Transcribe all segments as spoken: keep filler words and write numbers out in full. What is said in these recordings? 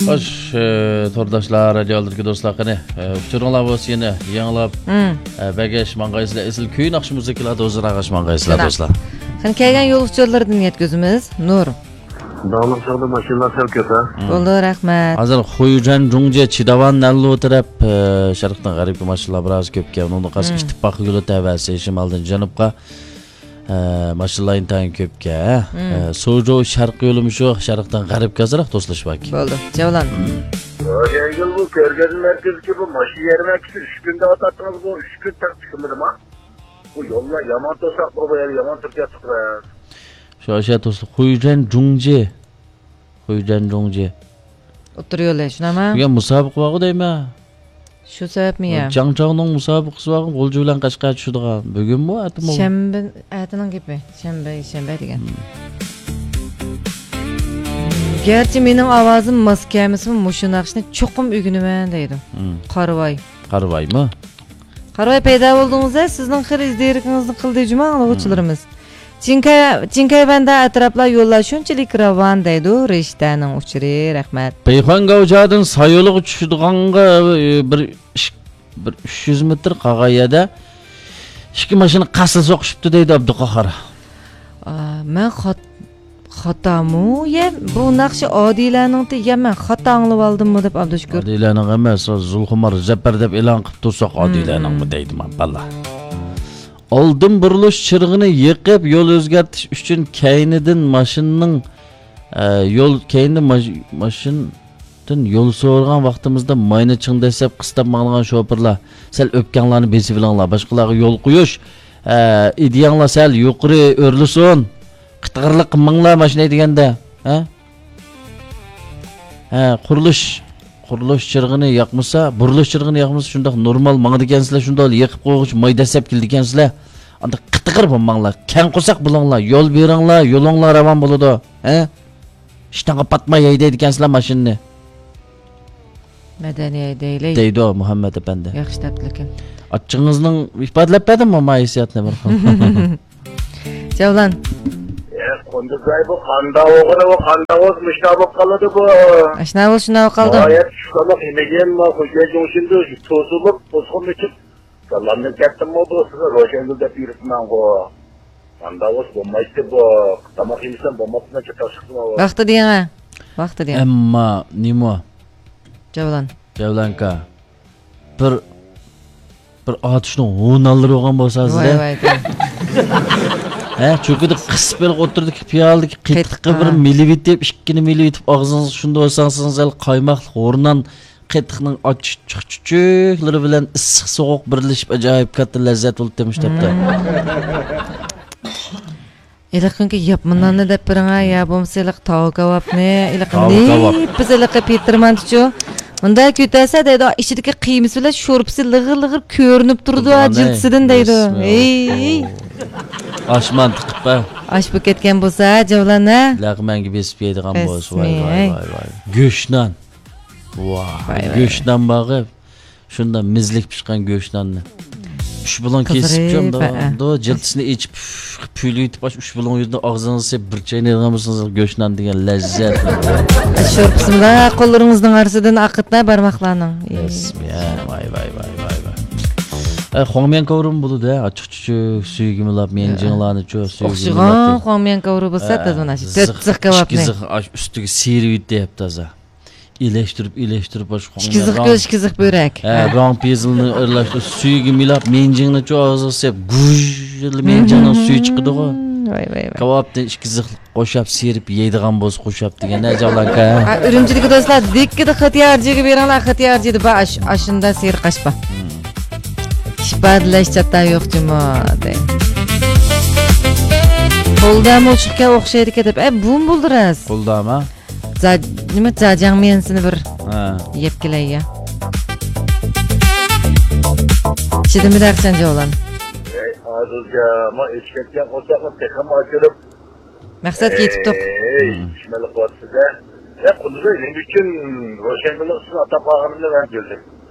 خوش، ئى، تورداشلار، رادىيو ئالدىدىكى دوستلار، قېنى، ئى، ئۇچۇرۇڭلار بولسا يەنە يېڭىلاپ، مم. ئى، بەرگەچ ماڭغايسىلەر، ئېسىل كۈي ناخشا مۇزىكىلار ھۇزۇرىغا ماڭغايسىلەر، شۇنداق. دوستلار. قېنى، كەلگەن يول ئۇچۇرلىرىدىن يەتكۈزىمىز. نۇر. داڭلىق چاغدا ماشىنىلار سەل كۆپ، ھە؟ مم. بولدى، رەھمەت. ھازىر خۇيجەن جۇڭجې چىداۋان نەنلۇ تەرەپ، ئى، شەرقتىن غەربكە ماشىنىلار بىراز كۆپكەن. ئۇنىڭدىن قالسا مم. ئىتتىپاق يولى تەۋەسى شىمالدىن جەنۇبقا. ئە، ماشىنىلار ئىنتايىن كۆپكەن، ھە؟ مم. ئە، سوجو شەرقىي يولىمۇ شۇ، شەرقتىن غەربكە ئازراق توسۇلۇش باركەن. بولدى، جەۋلان. مم. يەڭگىل، بۇ كۆرگەزمە مەركىزىدىكى بۇ ماشىنا يەرمەنكىسى ئۈچ كۈندە ئاتاتتىڭىز، بۇ ئۈچ كۈن تەق چىقمىدىما؟ بۇ يوللار يامان توساق، بۇ يەر يامان تۇرۇپ كەتتۇق. شۇ ئاشۇ توسۇلۇپ، خۇيجەن جۇڭجى. خۇيجەن جۇڭجى. ئوتتۇرا يولى، شۇنداقمۇ؟ بۈگۈن مۇسابىقە بارغۇ دەيمەن. شۇ سەۋەبمۇ يا؟ جاڭچاۋنىڭ مۇسابىقىسى بارغۇ، غۇلجا بىلەن قەشقەر چۈشىدىغان. بۈگۈنمۇ، ئەتىمۇ؟ شەنبە، ئەتىنىڭ گېپى. شەنبە، يەكشەنبە دېگەن. مم. گەرچە مېنىڭ ئاۋازىم ماس كەلمىسىمۇ، مۇشۇ ناخشىنى چوقۇم ئۆگىنىمەن دەيدۇ. مم. قارىۋاي. قارىۋايمۇ؟ قارىۋاي پەيدا بولدىڭىز-ھە، سىزنىڭ خېلى ئىزدىرىكىڭىزنى قىلدى جۇما ئاڭلىغۇچىلىرىمىز. مم. چىڭكەي، چىڭكەي بەندە ئەتراپلار يوللار شۇنچىلىك راۋان دەيدۇ، رىشتەنىڭ ئۇچۇرى، رەھمەت. بېيخۇەن گاۋجادىن سايولىغا چۈشىدىغانغا، ئى، بىر ئىش-، بىر ئۈچ يۈز مېتىر قالغان يەردە ئىككى ماشىنا قەستە سوقۇشۇپتۇ دەيدۇ ئابدۇقاھار. ئا، مەن خات-، خاتامۇ؟ يە، بۇ ناخشا ئادىلەنىڭتى، يە مەن خاتا ئاڭلىۋالدىممۇ دەپ ئابدۇشۈكۈر. ئادىلەنىڭ ئەمەس، زۇلخۇمار زەپەر دەپ ئېلان قىلىپ تۇرساق، مم. ئادىلەنىڭمۇ دەيدىما، بالا. ئالدىن بۇرۇلۇش چىرىغىنى يېقىپ، يول ئۆزگەرتىش ئۈچۈن كەينىدىن ماشىنىنىڭ، ئە، يول، كەينىدىن ماش-، ماشىنىدىن يول سورىغان ۋاقتىمىزدا ماينى چىڭ دەسسەپ قىستاپ ماڭىدىغان شوپۇرلار، سەل ئۆپكەڭلارنى بېسىۋېلىڭلار. باشقىلارغا يول قويۇش، ئە، ئىدىيەڭلار سەل يۇقىرى ئۆرلىسۇن. قىتىغىرلىق قىلماڭلار ماشىنا ھەيدىگەندە. ھە؟ ھە، قۇرۇلۇش، قۇرۇلۇش چىرىغىنى ياقمىسا، بۇرۇلۇش چىرىغىنى ياقمىسا، شۇنداق نورمال ماڭىدىكەنسىلەر، شۇنداق يېقىپ قويغۇچە ماي دەسسەپ كېلىدىكەنسىلەر. ئانداق قىتىغىر بولماڭلار، كەڭ قورساق بولۇڭلار، يول بېرىڭلار، يولۇڭلار راۋان بولىدۇ. ھە؟ ئىشتانغا پاتماي ھەيدەيدىكەنسىلەر ماشىنىنى. مەدەنىي ھەيدەيلى. دەيدۇ مۇھەممەت ئەپەندى. ياخشى دەپتىلىكىن. ئاچچىقىڭىزنىڭ ئىپادىلەپ بەردىممۇ ما ھېسسىياتنى بىر خىل؟ جەۋلان. ئە، قۇندۇزاي، بۇ قانداق ئوغرى، بۇ قانداق بولسا مۇشۇنداق بولۇپ قالىدۇ بۇ. ئاشۇنداق بولسا شۇنداق بولۇپ قالىدۇ. ھايات چۈشلۈك يېمىگەن ما خوجا جۇڭشىندۇ توسۇلۇپ توسقۇننى ئىچىپ سالامنى كەتتىممۇ بۇ سىزگە روشەنگۈل دەپ يۈرۈپمەنغۇ. قانداق بولسا بولمايتتى بۇ. تاماق يېمىسەم بولماپتىمەن، چاتاق چىقتىمۇ بۇ. ۋاقتى دېيىڭە. ۋاقتى دېيىڭە. ئەمما نېمە؟ جەۋلان. جەۋلانكا. بىر، بىر ئاتۇشنىڭ ھۇنانلىرى بولغان بولسا ھازىر، ۋاي، ھە؟ ۋاي، ۋاي. ھە، چوكىدا قىسىپ بېرىپ ئوتتۇرىدىكى پىيالىدىكى قېتىققا قېتىققا. بىر مىلىۋېتىپ، ئىككىنى مىلىۋېتىپ، ئاغزىڭىزغا شۇنداق سالسىڭىز، ھېلى قايماقلىق ھۇرنان قېتىقنىڭ ئاچچىق چۈچۈكلىرى بىلەن ئىسسىق سوغۇق بىرلىشىپ، ئاجايىپ كاتتا لەززەت بولۇپ تېمىشتاپتۇ. مم. ھېلىقى كۈنكى ياپمىناننى دەپ بېرىڭە، يا بولمىسا ھېلىقى تاۋا كاۋاپنى، ھېلىقى تاۋا كاۋاپ. نېپىز ھېلىقى پېتىرمانتىچۇ. مۇنداق كۆتەرسە دەيدۇ، ئىچىدىكى قىيمىسى بىلەن شورپىسى لىغىر-لىغىر كۆرۈنۈپ تۇرىدۇ، ھە، جىلتىسىدىن دەيدۇ. ھەي. ئاشمان تىقىپ، ھە. ئاش بولۇپ كەتكەن بولسا، جەۋلان، ھە؟ لەغمەنگە بېسىپ يەيدىغان بولسا، ۋاي، ۋاي، ۋاي، ۋاي. گۆشنان. ۋاي، ۋاي، ۋاي. گۆشنان بارغۇ. شۇنداق مىزلىك پىشقان گۆشناننى. ئۈچ بۇلۇڭ كېسىپ، قىزىرىپ، ھە. جىلتىسىنى ئېچىپ، پۈۋلىۋېتىپ، ئاشۇ ئۈچ بۇلۇڭ يۈزىنى ئاغزىڭىزغا سېلىپ بىر چاينايدىغان بولسىڭىز، گۆشنان دېگەن لەززەت. شورپىسىمۇ قوللىرىڭىزنىڭ ئارىسىدىن ئاقىتىلا بارماقلارنىڭ. بەس، يا، ۋاي، ۋاي، ۋاي، ۋاي، ۋاي. ئە، خۇاڭميەن كاۋرۇمۇ بولىدۇ، ھە، ئاچچىق چۈچۈك، سۈيىگە مىلاپ، ميەنجىڭلارنىچۇ، سۈيىگە ئوخشىغان مىلاپ. خۇاڭميەن كاۋرۇ بولسا، ھە، تازا مانا شۇ تۆت زىخ كاۋاپنى. ئىككى زىخ، ئاش ئۈستىگە سىيرىۋېتىپ تازا. ئېلەشتۈرۈپ، ئېلەشتۈرۈپ، ئاشۇ ئىككى زىخ كۆز، ئىككى زىخ بۆرەك. ھە، ھە. راڭ پېزىلنى ئارىلاشتۇرۇپ، سۈيىگە مىلاپ، مىنجىڭنى چوغىزىغا سېلىپ، گۇژ، مىنجىڭنىڭ سۈيى چىقىدىغۇ. ۋاي، ۋاي، ۋاي. كاۋاپنى ئىككى زىخ قوشاپ، سىيرىپ يەيدىغان بولسا قوشاپ دېگەن، ھە، جاۋلانكا. ھە، ئۈرۈمچىدىكى دوستلار، دىككىدە خىتىيارجىگە بېرىڭلار، خىتىيارجىدا بار، ئاش-، ئاشۇندا سېرىق ئاش بار. ئىپادىلەش چاتا يوق جۇمۇ، دەي. قولدامۇ ئوچۇقكەن ئوخشايدىكەن دەپ. ئە، بۇمۇ بولدى راست. قولدامۇ؟ جا-، نېمە، جاجاڭميەنسىنى بىر ھە. يەپ كېلەي يا. چىدىمىدى ئاقچان جاۋلان. ئەي، ھازىرچە ما ئېچىپ كەتكەن قورساقنى تېخىمۇ ئاچۇرۇپ، مەقسەتكە يېتىپتۇق. ئەي، ھىم. چۈشمەنلىك قىلىۋاتىسىز-ھە. يا، قۇندۇزاي، نېمە ئۈچۈن روشەنگۈلنىڭ ئىسمىنى ئاتاپ قالغىنىمنى مەن بىلدىم.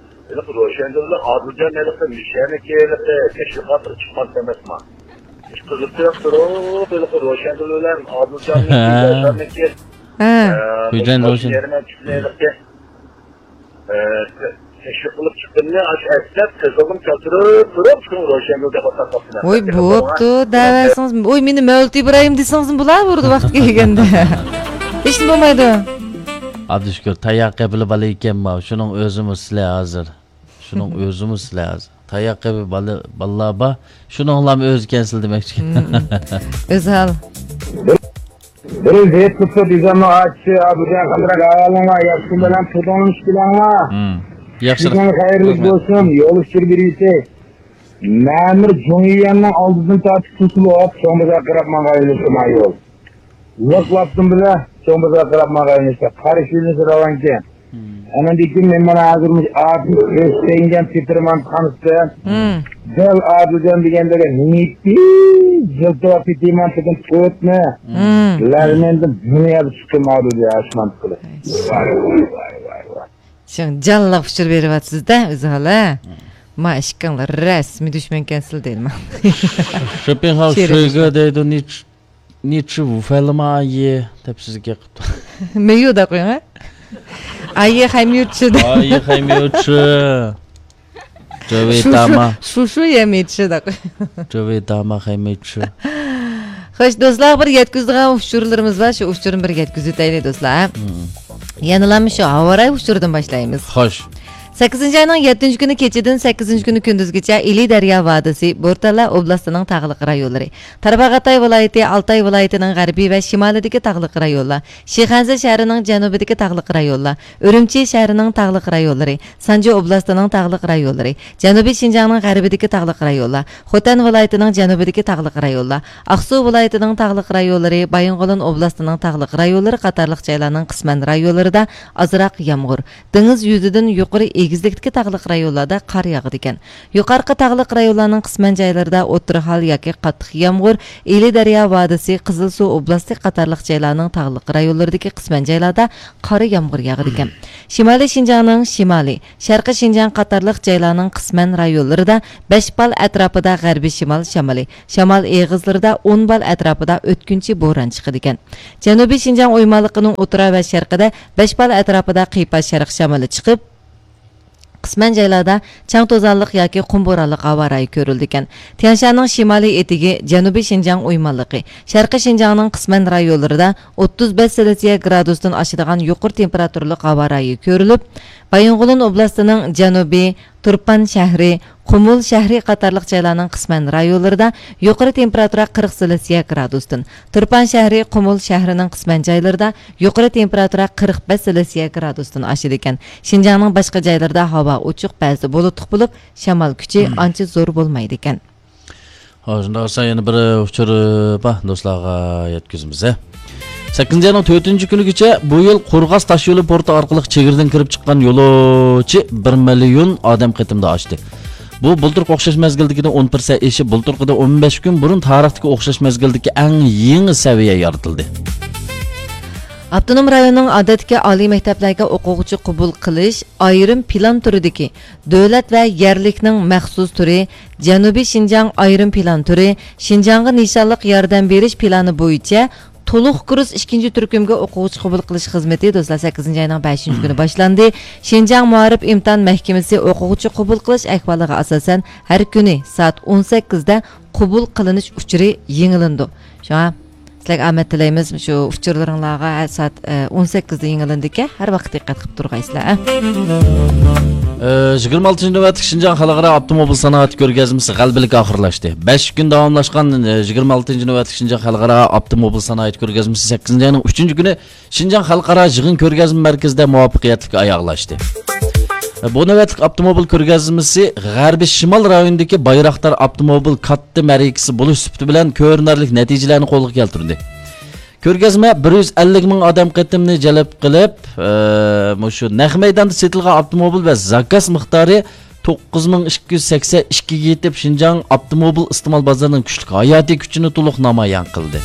ھېلىقى روشەنگۈل بىلەن ئادىلجان ھېلىقى مىشەنىكى ھېلىقى تەشۋىقاتىغا چىققان ئەمەسما؟ ھېچ قىزىقتۇرۇپ تۇرۇپ، ھېلىقى روشەنگۈل بىلەن ئادىلجاننىڭكى، ھە. ياشارنىڭكى، ھە. ئە، خوجايىن مۇشۇ روشەن. يەرمەن چۈشىدە ھېلىقى ئە، تەشۋىق قىلىپ چىققىنىنى ئاشۇ ئەسلەپ، قىزىلغىم كەلتۈرۈپ تۇرۇپ، شۇڭا روشەنگۈل دەپ ئاتاپ قاپتىمەن. ۋوي، بوپتۇ، دەۋەرسىڭىز. ۋوي، مېنى مەۋلۇت ئىبراھىم دېسىڭىزمۇ بولا بۇردا ۋاقتى كەلگەندە. ھېچنېمە بولمايدۇ. ئابدۇشۈكۈر، تاياق قېپىلا بالا ئىكەن ماۋۇ. شۇنىڭ ئۆزىمۇ سىلەر ھازىر. شۇنىڭ ئۆزىمۇ سىلەر ھازىر. تاياق قېپى بالا، بالىلار بار. شۇنىڭلارمۇ ئۆزى كەنسىل دېمەكچى. مم. ئۆزھال. بىر زېيىت قىپسا دېگەننىڭ ئاچىسى، ئابۇجان قانداق ئەھۋالىڭلار؟ ياخشىمۇ بىلەن تۇردۇڭلارمۇ ئىككىلەڭلار؟ مم. ياخشى. بۈگۈن خەيرلىك بولسۇن، يول ئۇچۇر بېرىۋېتەي. مەمۇر جۇڭيۈەننىڭ ئالدىدىن تارتىپ توسۇلۇپ، چوڭ بازار قاراپ ماڭغان يول شۇما يول. لىق لاپتىن بىلە چوڭ بازار قاراپ ماڭغان يول شۇ. قارشى يولنى سىراۋانكەن. مم. ئاندىن كېيىن مەن مانا ھازىر مۇشۇ ئادىل ئۆستەڭگەن تېتىرمان قانىسى. مم. دەل ئادىلجان دېگەندەك نىيىتى يىلتىراپ كېتىمەن دېگەن تۆتنى. مم. لەرمەندىن دۇنيادا چىقتىم ئادىلجان ئاشمان قىلىپ. ۋاي، ۋاي، ۋاي، ۋاي، ۋاي. شۇڭ جانلىق ئۇچۇر بېرىۋاتىسىز-دە، ئۆزى ھالا. ما ئىككىڭلار رەسمىي دۈشمەنكەنسىلەر دەيدىمەن. شېپىڭخاۋ شېرىن شۆيگې دەيدۇ، نىچ-، نىچ ۋۇفەلىما ئايى دەپ سىزگە قىپتۇ. مەييۇ دەپ قويۇڭ، ھە؟ ئايى خەيميۇچى دە. ئايى خەيميۇچى. جۆۋېي شۇ، شۇ، داما. شۇ، شۇ يەمەي چىشىداق. جۆۋېي داما خەيمەي چۈ. خوش، دوستلار، بىر يەتكۈزىدىغان ئۇچۇرلىرىمىز بار. شۇ ئۇچۇرنى بىر يەتكۈزۈۋېتەيلى، دوستلار. مم. يەنىلا شۇ ھاۋاراي ئۇچۇرىدىن باشلايمىز. خوش. سەككىزىنچى ئاينىڭ يەتتىنچى كۈنى كېچىدىن سەككىزىنچى كۈنى كۈندۈزگىچە ئىلى دەريا ۋادىسى، بورتالا ئوبلاستىنىڭ تاغلىق رايونلىرى، تارباغاتاي ۋىلايىتى، ئالتاي ۋىلايىتىنىڭ غەربىي ۋە شىمالىدىكى تاغلىق رايونلار، شىخەنزە شەھىرىنىڭ جەنۇبىدىكى تاغلىق رايونلار، ئۈرۈمچى شەھىرىنىڭ تاغلىق رايونلىرى، سانجى ئوبلاستىنىڭ تاغلىق رايونلىرى، جەنۇبىي شىنجاڭنىڭ غەربىدىكى تاغلىق رايونلار، خوتەن ۋىلايىتىنىڭ جەنۇبىدىكى تاغلىق رايونلار، ئاقسۇ ۋىلايىتىنىڭ تاغلىق رايونلىرى، بايىنغولىن ئوبلاستىنىڭ تاغلىق رايونلىرى قاتارلىق جايلارنىڭ قىسمەن رايونلىرىدا ئازراق يامغۇر، دېڭىز يۈزىدىن يۇقىرى ئېگىزلىكتىكى تاغلىق رايونلاردا قار ياغىدىكەن. يۇقارقى تاغلىق رايونلارنىڭ قىسمەن جايلىرىدا ئوتتۇرا ھال ياكى قاتتىق يامغۇر، ئىلى دەريا ۋادىسى، قىزىلسۇ ئوبلاستى قاتارلىق جايلارنىڭ تاغلىق رايونلىرىدىكى قىسمەن جايلاردا قارا يامغۇر ياغىدىكەن. شىمالىي شىنجاڭنىڭ شىمالى، شەرقىي شىنجاڭ قاتارلىق جايلارنىڭ قىسمەن رايونلىرىدا، بەشبال ئەتراپىدا غەربىي شىمال شامىلى، شامال ئېغىزلىرىدا ئون بال ئەتراپىدا ئۆتكۈنچى بوران چىقىدىكەن. جەنۇبىي شىنجاڭ ئويمانلىقىنىڭ ئوتتۇرا ۋە شەرقىدە بەشبال ئەتراپىدا قىيپاش شەرق شامىلى چىقىپ، قىسمەن جايلاردا چاڭ توزانلىق ياكى قۇم بورانلىق ھاۋا رايى كۆرۈلىدىكەن. تيەنشاننىڭ شىمالىي ئېتىكى، جەنۇبىي شىنجاڭ ئويمانلىقى، شەرقىي شىنجاڭنىڭ قىسمەن رايونلىرىدا ئوتتۇز بەش سېلسىيە گرادۇستىن ئاشىدىغان يۇقىرى تېمپېراتۇرىلىق ھاۋا رايى كۆرۈلۈپ، بايىنغولىن ئوبلاستىنىڭ جەنۇبى، تۇرپان شەھىرى، قۇمۇل شەھىرى قاتارلىق جايلارنىڭ قىسمەن رايونلىرىدا يۇقىرى تېمپېراتۇرا قىرىق سېلسىيە گرادۇستىن، تۇرپان شەھىرى، قۇمۇل شەھىرىنىڭ قىسمەن جايلىرىدا يۇقىرى تېمپېراتۇرا قىرىق بەش سېلسىيە گرادۇستىن ئاشىدىكەن. شىنجاڭنىڭ باشقا جايلىرىدا ھاۋا ئوچۇق، بەزىدە بۇلۇتلۇق بولۇپ، شامال كۈچى ئانچە زور بولمايدىكەن. ھە، شۇنداق بولسا يەنە بىر ئۇچۇر بار، دوستلارغا يەتكۈزىمىز، ھە. سەككىزىنچى ئاينىڭ تۆتىنچى كۈنىگىچە بۇ يىل قورغاس تاشيولى پورتى ئارقىلىق چېگرىدىن كىرىپ چىققان يولۇچى بىر مىليون ئادەم قېتىمدا ئاشتى. بۇ بۇلتۇرقى ئوخشاش مەزگىلدىكىدىن ئون پىرسەنت ئېشىپ، بۇلتۇرقىدىن ئون بەش كۈن بۇرۇن تارىختىكى ئوخشاش مەزگىلدىكى ئەڭ يېڭى سەۋىيە يارىتىلدى. ئاپتونوم رايوننىڭ ئادەتتىكى ئالىي مەكتەپلەرگە ئوقۇغۇچى قوبۇل قىلىش ئايرىم پىلان تۈرىدىكى دۆلەت ۋە يەرلىكنىڭ مەخسۇس تۈرى، جەنۇبىي شىنجاڭ ئايرىم پىلان تۈرى، شىنجاڭغا نىشانلىق ياردەم بېرىش پىلانى بويىچە تولۇق كۇرس ئىككىنچى تۈركۈمگە ئوقۇغۇچى قوبۇل قىلىش خىزمىتى، دوستلار، سەككىزىنچى ئاينىڭ بەشىنچى كۈنى باشلاندى. شىنجاڭ مائارىپ ئىمتىھان مەھكىمىسى ئوقۇغۇچى قوبۇل قىلىش ئەھۋالىغا ئاساسەن، ھەر كۈنى سائەت ئون سەككىزدە قوبۇل قىلىنىش ئۇچۇرى يېڭىلىنىدۇ. شۇڭا سىلەرگە ئامەت تىلەيمىز. شۇ ئۇچۇرلىرىڭلارغا ھە، سائەت، ئە، ئون سەككىزدە يېڭىلىنىدىكەن. ھەر ۋاقىت دىققەت قىلىپ تۇرغايسىلەر، ئە. ئە، يىگىرمە ئالتىنچى نۆۋەتلىك شىنجاڭ خەلقئارا ئاپتوموبىل سانائەت كۆرگەزمىسى غەلىبىلىك ئاخىرلاشتى. بەش كۈن داۋاملاشقان، ئە، يىگىرمە ئالتىنچى نۆۋەتلىك شىنجاڭ خەلقئارا ئاپتوموبىل سانائەت كۆرگەزمىسى سەككىزىنچى ئاينىڭ ئۈچىنچى كۈنى شىنجاڭ خەلقئارا يىغىن كۆرگەزمە مەركىزىدە مۇۋەپپەقىيەتلىك ئاياغلاشتى. بۇ نۆۋەتلىك ئاپتوموبىل كۆرگەزمىسى غەربىي شىمال رايونىدىكى بايراقدار ئاپتوموبىل كاتتا مەرىكىسى بولۇش سۈپىتى بىلەن كۆرۈنەرلىك نەتىجىلەرنى قولغا كەلتۈردى. كۆرگەزمە بىر يۈز ئەللىك مىڭ ئادەم قېتىمنى جەلپ قىلىپ، ئە، مۇشۇ نەق مەيداندا سېتىلغان ئاپتوموبىل ۋە زاكاز مىقدارى توققۇز مىڭ ئىككى يۈز سەكسەن ئىككىگە يېتىپ، شىنجاڭ ئاپتوموبىل ئىستېمال بازىرىنىڭ كۈچلۈك ھاياتىي كۈچىنى تولۇق نامايان قىلدى.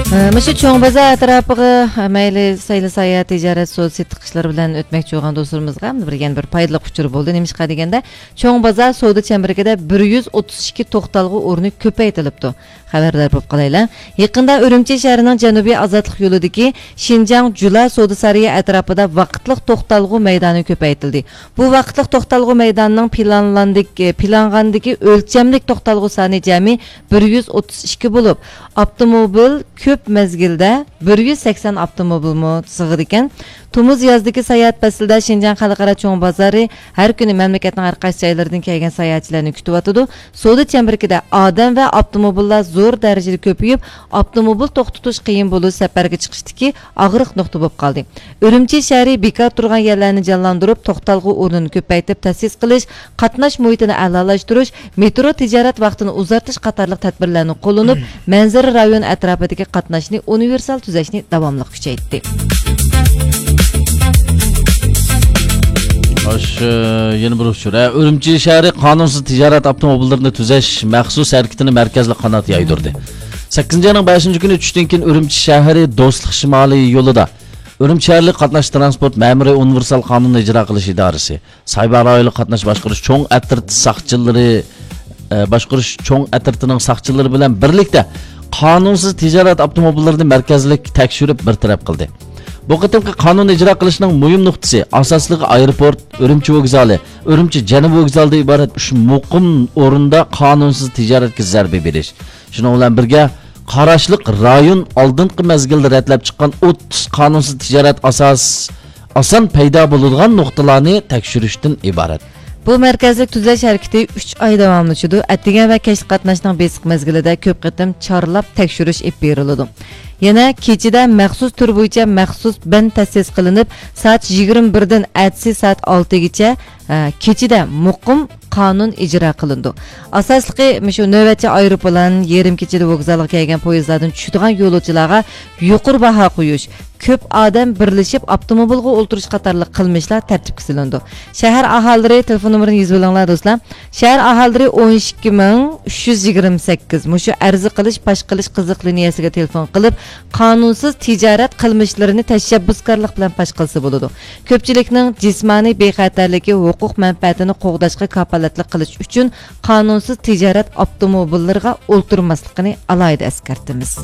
مۇشۇ چوڭ بازار ئەتراپىغا، مەيلى سەيلە ساياھەت، تىجارەت، سودا سېتىق ئىشلىرى بىلەن ئۆتمەكچى بولغان دوستلىرىمىزغا بىر، يەنە بىر پايدىلىق ئۇچۇر بولدى. نېمىشقا دېگەندە، چوڭ بازار سودا چەمبىرىكىدە بىر يۈز ئوتتۇز ئىككى توختالغۇ ئورنى كۆپەيتىلىپتۇ. خەۋەردار بولۇپ قالايلى. يېقىندا ئۈرۈمچى شەھىرىنىڭ جەنۇبىي ئازادلىق يولىدىكى شىنجاڭ جۇلا سودا سارىيى ئەتراپىدا ۋاقىتلىق توختالغۇ مەيدانى كۆپەيتىلدى. بۇ ۋاقىتلىق توختالغۇ مەيدانىنىڭ پىلانلاندىكى، پىلانغاندىكى ئۆلچەملىك توختالغۇ سانى جەمئىي بىر يۈز ئوتتۇز ئىككى بولۇپ، ئاپتوموبىل كۆپ مەزگىلدە بىر يۈز سەكسەن ئاپتوموبىلمۇ سىغىدىكەن. تومۇز يازدىكى ساياھەت پەسلىدە شىنجاڭ خەلقئارا چوڭ بازارى ھەر كۈنى مەملىكەتنىڭ ھەر قايسى جايلىرىدىن كەلگەن ساياھەتچىلەرنى كۈتۈۋاتىدۇ. سودا چەمبىرىكىدە ئادەم ۋە ئاپتوموبىللار زور دەرىجىدە كۆپىيىپ، ئاپتوموبىل توختىتىش قىيىن بولۇش سەپەرگە چىقىشتىكى ئاغرىق نۇقتا بولۇپ قالدى. ئۈرۈمچى شەھىرى بىكار تۇرغان يەرلەرنى جانلاندۇرۇپ، توختالغۇ ئورنىنى كۆپەيتىپ تەسىس قىلىش، قاتناش مۇھىتىنى ئەلالاشتۇرۇش، مېترو تىجارەت ۋاقتىنى ئۇزارتىش قاتارلىق تەدبىرلەرنى قوللىنىپ، مەنزىرە رايون ئەتراپىدىكى قاتناشنى ئۇنىۋېرسال تۈزەشنى داۋاملىق كۈچەيتتى. خوش، يەنە بىر ئۇچۇر. ئۈرۈمچى شەھىرى قانۇنسىز تىجارەت ئاپتوموبىللىرىنى تۈزەش مەخسۇس ھەرىكىتىنى مەركەزلىك قانات يايدۇردى. سەككىزىنچى ئاينىڭ بەشىنچى كۈنى چۈشتىن كېيىن ئۈرۈمچى شەھىرى دوستلۇق شىمالىي يولىدا ئۈرۈمچى شەھەرلىك قاتناش تىرانسپورت مەمۇرىي ئۇنىۋېرسال قانۇننى ئىجرا قىلىش ئىدارىسى، سايبان رايونلۇق قاتناش باشقۇرۇش چوڭ ئەترىتى ساقچىلىرى، ئە، باشقۇرۇش چوڭ ئەترىتىنىڭ ساقچىلىرى بىلەن بىرلىكتە قانۇنسىز تىجارەت ئاپتوموبىللىرىنى مەركەزلىك تەكشۈرۈپ بىر تەرەپ قىلدى. بۇ قېتىمقى قانۇن ئىجرا قىلىشنىڭ مۇھىم نۇقتىسى، ئاساسلىقى ئايروپورت، ئۈرۈمچى ۋوگزالى، ئۈرۈمچى جەنۇبىي ۋوگزالىدىن ئىبارەت ئۈچ مۇقىم ئورۇندا قانۇنسىز تىجارەتكە زەربە بېرىش. شۇنىڭ بىلەن بىرگە، قاراشلىق رايون ئالدىنقى مەزگىلدە رەتلەپ چىققان ئوتتۇز قانۇنسىز تىجارەت ئاساس، ئاسان پەيدا بولىدىغان نۇقتىلارنى تەكشۈرۈشتىن ئىبارەت. بۇ مەركەزلىك تۈزەش ھەرىكىتى ئۈچ ئاي داۋاملىشىدۇ. ئەتىگەن ۋە كەچلىك قاتناشنىڭ بېسىق مەزگىلىدە كۆپ قېتىم چارلاپ تەكشۈرۈش ئېلىپ بېرىلىدۇ. يەنە كېچىدە مەخسۇس تۈر بويىچە مەخسۇس بەند تەسىس قىلىنىپ، سائەت يىگىرمە بىردىن ئەتىسى سائەت ئالتىگىچە، ئە، كېچىدە مۇقىم قانۇن ئىجرا قىلىنىدۇ. ئاساسلىقى مۇشۇ نۆۋەتچى ئايروپىلان، يېرىم كېچىدە ۋوگزالغا كەلگەن پويىزلاردىن چۈشىدىغان يولۇچىلارغا يۇقىرى باھا قويۇش، كۆپ ئادەم بىرلىشىپ ئاپتوموبىلغا ئولتۇرۇش قاتارلىق قىلمىشلار تەرتىپكە سېلىنىدۇ. شەھەر ئاھالىلىرى، تېلېفون نومۇرىنى يېزىۋېلىڭلار دوستلار. شەھەر ئاھالىلىرى ئون ئىككى مىڭ ئۈچ يۈز يىگىرمە سەككىز، مۇشۇ ئەرز قىلىش، پاش قىلىش قىزىق لىنىيەسىگە تېلېفون قىلىپ، قانۇنسىز تىجارەت قىلمىشلىرىنى تەشەببۇسكارلىق بىلەن پاش قىلسا بولىدۇ. كۆپچىلىكنىڭ جىسمانىي بىخەتەرلىكى، ھوقۇق مەنپەئەتىنى قوغداشقا كاپالەتلىك قىلىش ئۈچۈن قانۇنسىز تىجارەت ئاپتوموبىللىرىغا ئولتۇرماسلىقىنى ئالاھىدە ئەسكەرتىمىز.